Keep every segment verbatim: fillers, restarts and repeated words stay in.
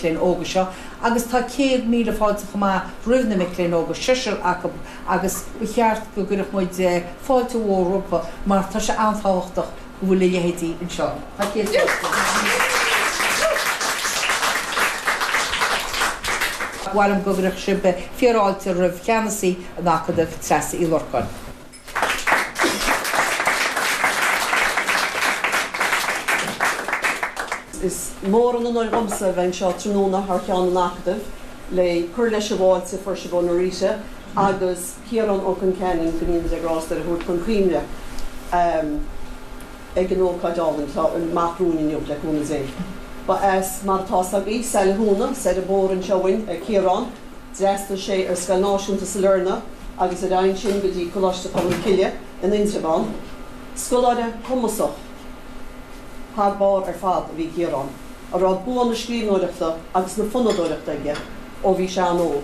léinn óga seo agus tá céad míle fáilte chomh maith roimh na mic léinn óga seisear acu agus ba cheart go gcuirfeadh muid eh, fáilte mhór rompu mar tá sé an-tábhachtach go bhfuil a leithéidí anseo. Tá céad fáilte. Ba mhaith liom go gcuirfeadh sibh fíorfháilte roimh cheannasaí an Acadaimh Treasa Uí Lorcáin. Is mór an onóir dhomsa bheith anseo tráthnóna thar cheann an Acadaimh le cur leis an bhfáilte a fuair sibh ó Norita agus Ciarán Ó Concheanainn go ndéana Dia grásta air a thabhairt chun cuimhne ag an ócáid álainn atá amach romhainn inniu le cúnamh Dé. Ba as mar atá a fhios agaibh Saile Thúna, soir an bóthar anseo uainn, é Ciarán. D'fhreastail sé ar Scoil Náisiúnta Sailearna agus ar aghaidh ansin go dtí Coláiste Cholmcille in Indreabhán. Scoláire cumasach thar barr ar fad a bhí i gCiarán, a raibh bua na scríbhneoireachta agus na fonnadóireachta aige ó bhí sé an-óg.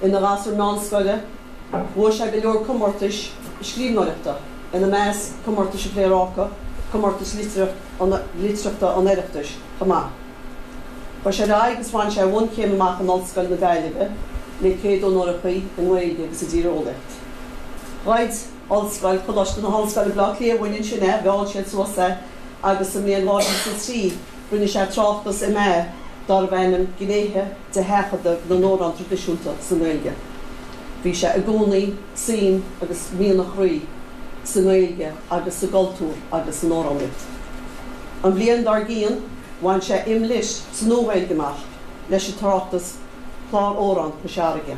Ina ghasúr meánscoile, bhuaigh sé go leor comórtais scríbhneoireachta, ina measc Comórtais an Phléaráca, Comórtas Litearthachta an Oireachtais chomh maith. Chuaigh sé ar aghaidh agus bhain sé a bhunchéim amach in Ollscoil na Gaillimhe le céad onóracha i nGaeilge agus i dTíreolaíocht. Ghoid Ollscoil Choláiste na hOllscoile Baile Átha Cliath uainn ansin é, mheall siad suas é agus sa mbliain dhá mhíle is a trí rinne sé tráchtas M A darbh ainm Gnéithe de Sheachadadh na nAmhrán Traidisiúnta sa nGaeilge. Bhí sé i gcónaí suim agus mian a chroí sa nGaeilge agus sa gcultúr agus san amhránaíocht. An bhliain dár gcionn bhain sé M Litt sa Nua-Ghaeilge amach leis an tráchtas Clár Amhrán Chois Fharraige.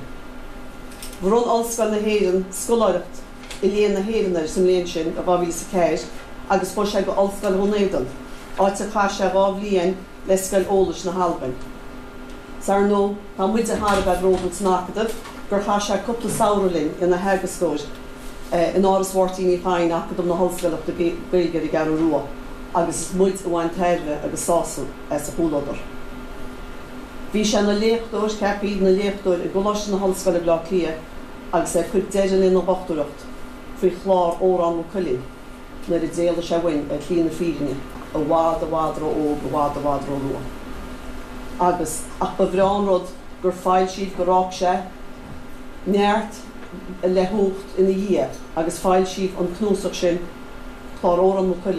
Bhronn Ollscoil na hÉireann scoláireacht i Léann na hÉireann air sa mbliain sin, i dhá mhíle is a ceathair, agus chuaigh sé go Ollscoil Dhún Éideann, áit a chaith sé dhá bhliain le Scoil Eolais na hAlbain. 'S ar ndóigh, tá muide thar a bheith bródúil san Acadamh gur chaith sé cúpla samhradh linn ina theagascóir in Áras Mháirtín Uí Chadhain, Acadamh na hOllscoileachta Gaeilge ar an gCeathrú Rua, agus is muid a bhain tairbhe agus sásamh as a chomhluadar. Bhí sé ina léachtóir, ceaptha ina léachtóir i gColáiste na hOllscoile Baile Átha Cliath agus é ag cur deireadh lena dhochtúireacht faoi chlár Órán Mhaigh Cuilinn nuair a d'éalaigh sé uainn ar shlí na fírinne i bhfad i bhfad ró-óg, i bhfad i bhfad ró-luath. Agus, ach ba bhreá an rud gur foilsíodh, gur fhág sé neart le huacht ina dhiaidh agus foilsíodh an cnuasach sin, Clár Órán Mhaigh Cuilinn.